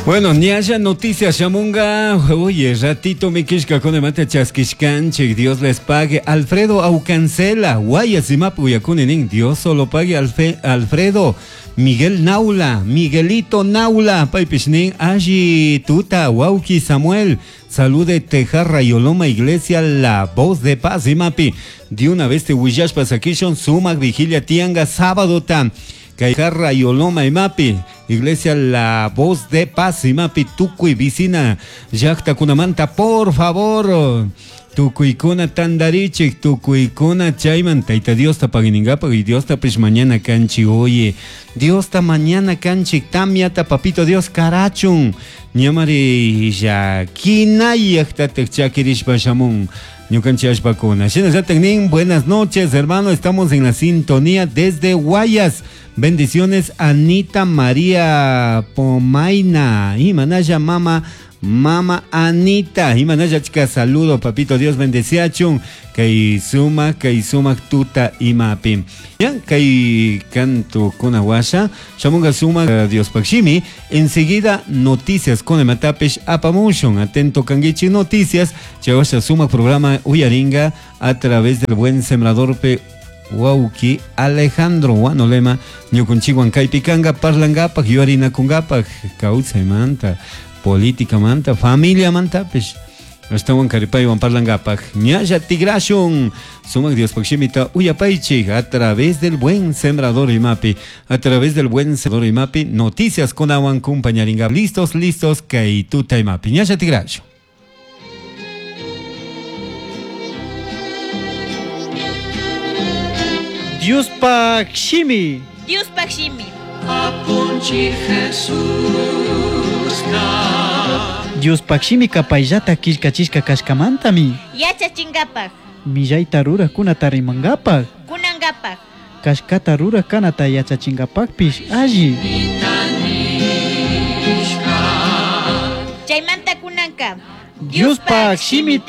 Bueno, ñalla noticias shamunga. Oye, ratito mi kishkakunamanta chaskishkanchik. Dios les pague. Alfredo Aucancela. Guayas imapi uyakuni nin. Dios solo pague Alfredo. Miguel Naula. Miguelito Naula. Paypish nin. Alli tuta. Wauki Samuel. Salude Tejarra Yoloma Iglesia. La voz de paz imapi. De una vez te willashpa sakishun. Sumak vigilia tianga sábado ta. Kayjarra Yoloma imapi. Iglesia La Voz de Paz imapi tukuy vicina llaqtakunamanta por favor tukuykuna tandarichik tukuykuna chayman Tayta Diosta paginingapaq y Diostapish mañana kanchik oye Diosta mañana kanchik tamyata papito Dios karachun ñamari llakinayaqtataq chakirishpa shamun ñukanchik allpakuna. Shinallatak nin buenas noches hermano, estamos en la sintonía desde Guayas. Bendiciones Anita María Pomaina. Imanaya mama Mama Anita. Imanaya chica saludo papito Dios bendeciachun. Kay suma kay sumak tuta imapi. Ya kay canto kuna washa. Shamunga suma Dios pakshimi. Enseguida noticias con ematapesh apamushun. Atento kangichi noticias. Chawasha suma programa uyaringa a través del buen sembrador pe Wauki Alejandro Wanolema ñukunchikwan kaypikanga parlankapaq yuarinakunkapaq kawsaymanta políticamanta familiamantapish ashtawan karipaywan parlankapaq ñalla tigrashun sumak Diospaq shimita uyapaychik a través del buen sembrador imapi a través del buen sembrador imapi noticias kunawan kumpañaringa listos listos kay tuta imapi ñalla tigrashun. Diospaq shimi. Diospaq shimi. Apunchik Jesuska. Diospaq shimika payllata killkachishka kashkamantami. Yachachingapaq. Millayta rurajkunata rimankapaq. Kunankapaq. Kashkata ruraj kanata yachachingapaqpish alli. Chaymanta kunanka. Diospaq shimita.